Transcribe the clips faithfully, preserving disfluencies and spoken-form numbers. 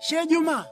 Chejuma,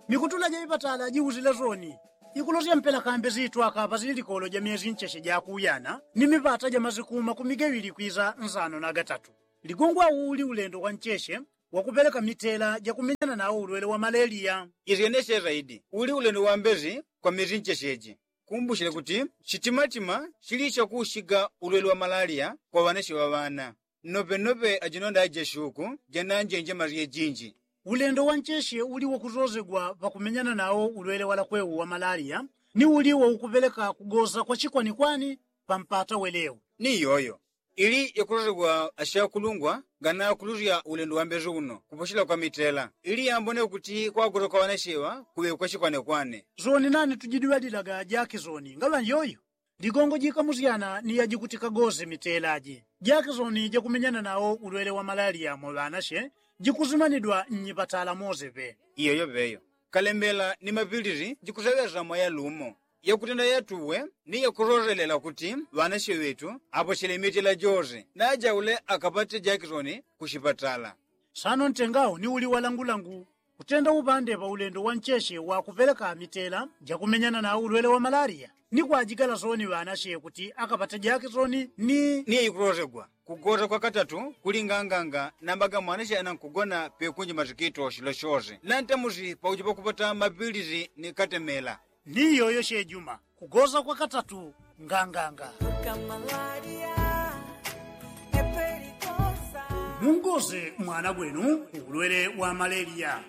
mikutula ja ipatala jiusila soni ikulosya mpela kambe sitwaka pasili likolo ja myesi ncheshe ja kuyana ni mipata ja masikuma kumigewili kwisa nsano na gatatu. Ligongwa uli ulendo wa ncheshe wa kupeleka mitela ja kumenyana nao ulwele wa maleliya. Isyenesye saidi uli ulendo wa mbesi kwa myesi ncheshe ji. Kumbushile kuti chitimatima chili chakuushiga ulwele wa malaliya kwa ŵanashe ŵa ŵana. Nnope nnope ajinondo ajeshuku jananjenje masye jinji. Ulendo wa ncheshe uli wakusosegwa pakumenyana nao ulwele wa lakwewu wa malaliya ni uli waukupeleka kugosa kwa chikwanikwani pa mpata welewu. Ni iyoyo ili yakusosegwa ashakulungwa nganakulusya ulendo wa mbesi uno kuposhela kwa mitela ili yambone kuti kwakuta kwa ŵanashewa kuŵe kwa chikwanekwane. Soni nani tujidwalilaga jakisoni ngaŵa iyoyo. Ligongo jikamusyana ni yajikutika gose mitela ji jakisoni jakumenyana nao ulwele wa malaliya mwa ŵanashe jikusimanidwa nnyipatala mose pe. Iyoyo peyo kalembela ni mapilisi jikuseŵesa mwa yalumo yakutenda yatuwe ni yakusoselela kuti ŵanashe ŵetu aposhele mitela jose najaule akapate jakisoni ku chipatala. Sano ntengawo ni uli walangulangu kutenda upande pa ulendo wa ncheshe wa kupeleka mitela jakumenyana na ulwele wa malaliya ni kwajigala soni ŵanashe kuti akapate jakisoni ni ni ikulosegwa kugosa kwa katatu kuli nganganga namba ga mwanashe anankugona pekunji masikito shilo shose nantamusi pakuja pakupata mapilisi ni katemela. Ni iyoyo shejuma kugosa kwa katatu nganganga. Mungose mwana gwenu ulwele wa maleliya.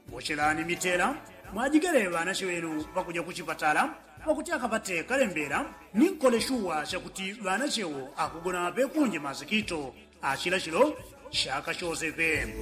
Boshelani mitela mwajigele ŵanashe ŵenu pakuja ku chipatala pakuti akapate kalembela ni nkole shuwa shakuti ŵanashewo akugona pekunji masikito ashila shilo shaka shose pe.